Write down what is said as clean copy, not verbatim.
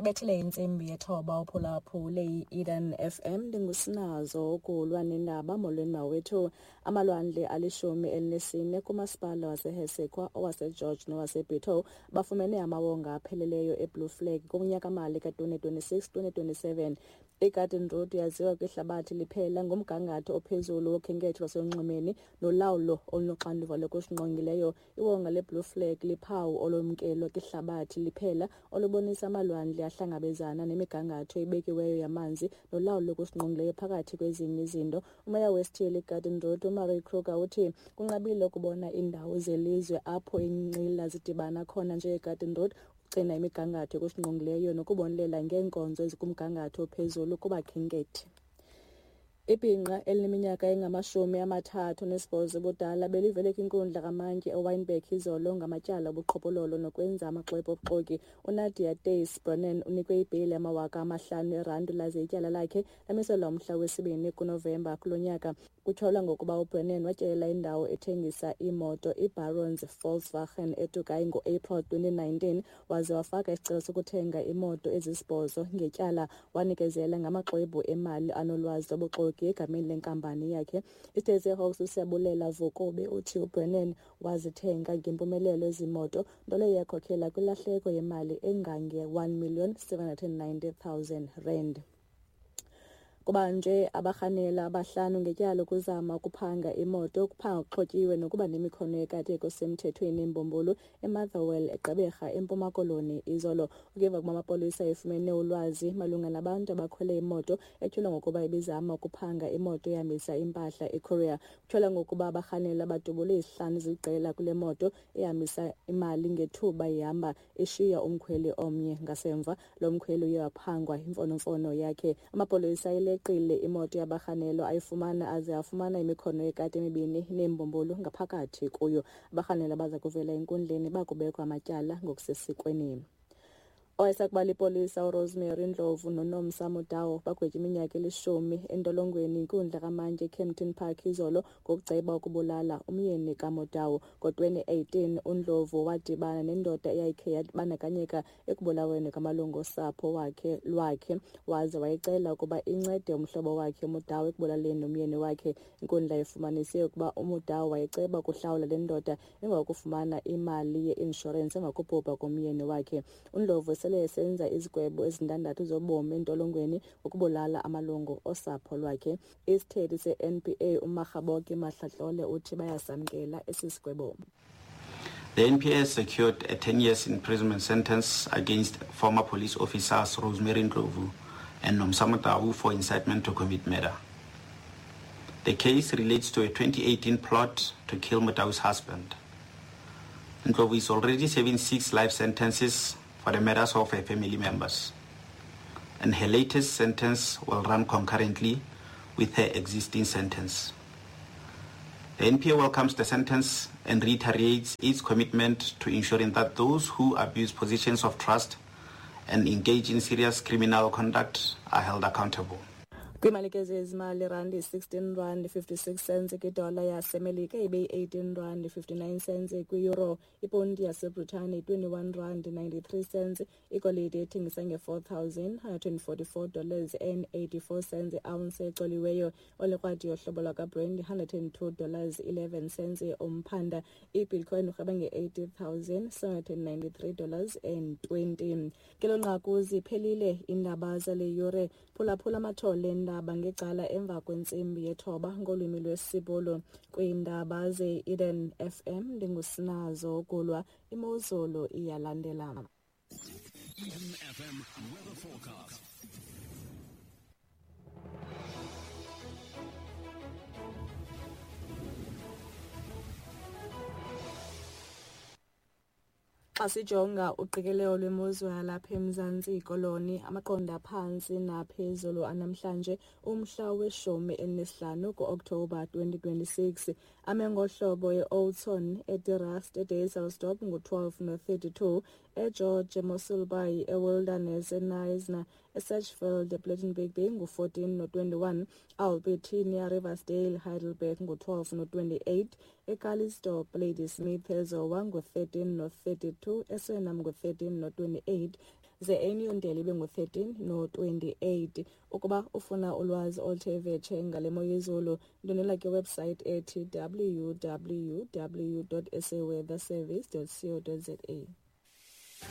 Ibethile intsimbi yethoba uphulaphule i-Eden FM. Ndingusinazo ukulwa nendaba. Molweni mawethu. Amalwandle 14 kumasipala waseHessequa, owaseGeorge nowaseBitou bafumene amawonga apheleleyo eBlue Flag kunyaka-mali ka-2026-2027. IGarden Route yaziwa kwihlabathi liphela ngomgangatho ophezulu wokhenketho lwaselunxwemeni nolawulo olunoxanduva lokusingqongileyo. Iwonga leBlue Flag liphawu olwamkelwa kwihlabathi liphela olubonisa amalwandle ahlangabezana nemigangatho ebekiweyo yamanzi nolawulo lokusingqongileyo, phakathi kwezinye izinto. Umeya wesithili iGarden Route uMarie Kruger uthi kunqabile ukubona iindawo zelizwe apho iinqila zidibana khona njengeGarden Route, ukugcina imigangatho yokusingqongileyo nokubonelela ngeenkonzo ezikumgangatho ophezulu kubakhenkethi. Ibhinqa elineminyaka engama-38 ubudala belivele kwinkundla kamantyi eWynberg izolo ngamatyala obuqhophololo nokwenza amaxwebhu obuxoki. UNadia Tays Brennan unikwe ibheyile yama-5,000 eerandi laze ityala lakhe lamiselwa umhla wesi-2 kuNovemba kulo nyaka. Kutyholwa ngokuba uBrennan watyelela indawo ethengisa iimoto iBarons Volkswagen eTukai ngo-April 2019 waze wafaka isicelo sokuthenga imoto ezisibhozo ngetyala, wanikezela ngamaxwebhu emali anolwazi lobuxoki egameni lenkampani yakhe. Isithethi seHawks uSiyabulela Vokobe uthi uBrennan wazithenga ngempumelelo ezi moto, nto leyo yakhokhela kwilahleko yemali engange-1 790 000 rand. Kubanjwe abarhanela abahlanu ngetyala lokuzama ukuphanga imoto, ukuphanga kuxhotyiwe nokuba nemikhono yekati ekusemthethweni imbumbulu eMotherwell, eGqeberha, eMpuma Koloni izolo. Ukueva kuba amapolisa efumene ulwazi malunga nabantu abakhwele imoto etyholwa ngokuba ibizama ukuphanga imoto ehambisa impahla eCourier. Kutyholwa ngokuba abarhanela badubule izihlanu ziliqela kule moto ehambisa imali ngethuba ihamba, ishiya umkhweli omnye ngasemva. Lo mkhweli uye waphangwa imfonomfono yakhe. Amapolisa ayileqile imoto yabarhanelwa ayifumana aze afumana imikhono yekati emibini neembumbulu ngaphakathi kuyo. Abarhanelwa baza kuvela enkundleni bakubekwa amatyala ngokusesikweni. Owayesakuba lipolisa uRosemary Ndlovu noNomsa Motau bagwetywe iminyaka eli-10 entolongweni yinkundla kamantyi eKempton Park izolo ngokuceba ukubulala umyeni kaMotau. Ngo-2018 uNdlovu wadibana nendoda eyayikhe yabandakanyeka ekubulaweni kwamalungu osapho lwakhe waze wayicela ukuba incede umhlobo wakhe uMotau ekubulaleni umyeni wakhe. Inkundla ifumanise ukuba uMotau wayeceba ukuhlawula le ndoda emva kokufumana imali ye-inshorensi emva kokubhubha komyeni wakhe. UNdlovu sele esenza izigwebo ezintandathu zobomi entolongweni ngokubulala amalungu osapho lwakhe. Isithethi se-NPA uMakgaboke Mahlatlole uthi bayasamkela esi sigwebo. The NPA secured a 10 years imprisonment sentence against former police officers Rosemary Ndlovu and Nomsa Motau for incitement to commit murder. The case relates to a 2018 plot to kill Motau's husband. Ndlovu is already serving 6 life sentences for the murders of her family members, and her latest sentence will run concurrently with her existing sentence. The NPA welcomes the sentence and reiterates its commitment to ensuring that those who abuse positions of trust and engage in serious criminal conduct are held accountable. Kwimalike zezimali, randi 16 rand 56 cents kwidola yaseMelika, ibe yi-18 rand 59 cents kwi-euro, iponti yaseBritane 21 rand 93 cents, igolide ethengisa nge-$4,144 and 84 cents i-ounce ecoliweyo, olikrwadi yohlobo lwakaBrent $102 11 cents umphanda, ibitcoin urhweba nge-$80,793 and 20. Ngelo nqaku ziphelile iindaba zale yure. Phulaphula amathole eendaba ngecala emva kwentsimbi yethoba ngolwimi lwesiBhulu. Kwiindaba ze-Eden FM ndingusinazo Gulwa. Imozulu iyalandela. Eden FM weather forecast. Xa sijonga uqikelelo lwemozulu yalapha eMzantsi Koloni, amaqondo aphantsi naphezulu anamhlanje umhla we-15 kuOkthobha 2026. Ame ngohlobo e-Oudtshoorn, eDe-Rust, eDysselsdorp ngu-12 no-32, eGeorge, eMossel Bay, eWilderness, eKnysna, eSedgefield, ePlettenberg Bay ngu-14 no-21, Albertinia, Riversdale, Heidelberg ngu-12 no-28, eCalitzdorp, Ladysmith, eZowa ngu-13 no-32, eSuriname ngu-13 no-28, ze eNewdale ibe ngu-13 no-28. Ukuba ufuna ulwazi oluthe vetshe ngale mo yezulu, ndwendwela kwiwebhusayithi ethi www.saweatherservice.co.za.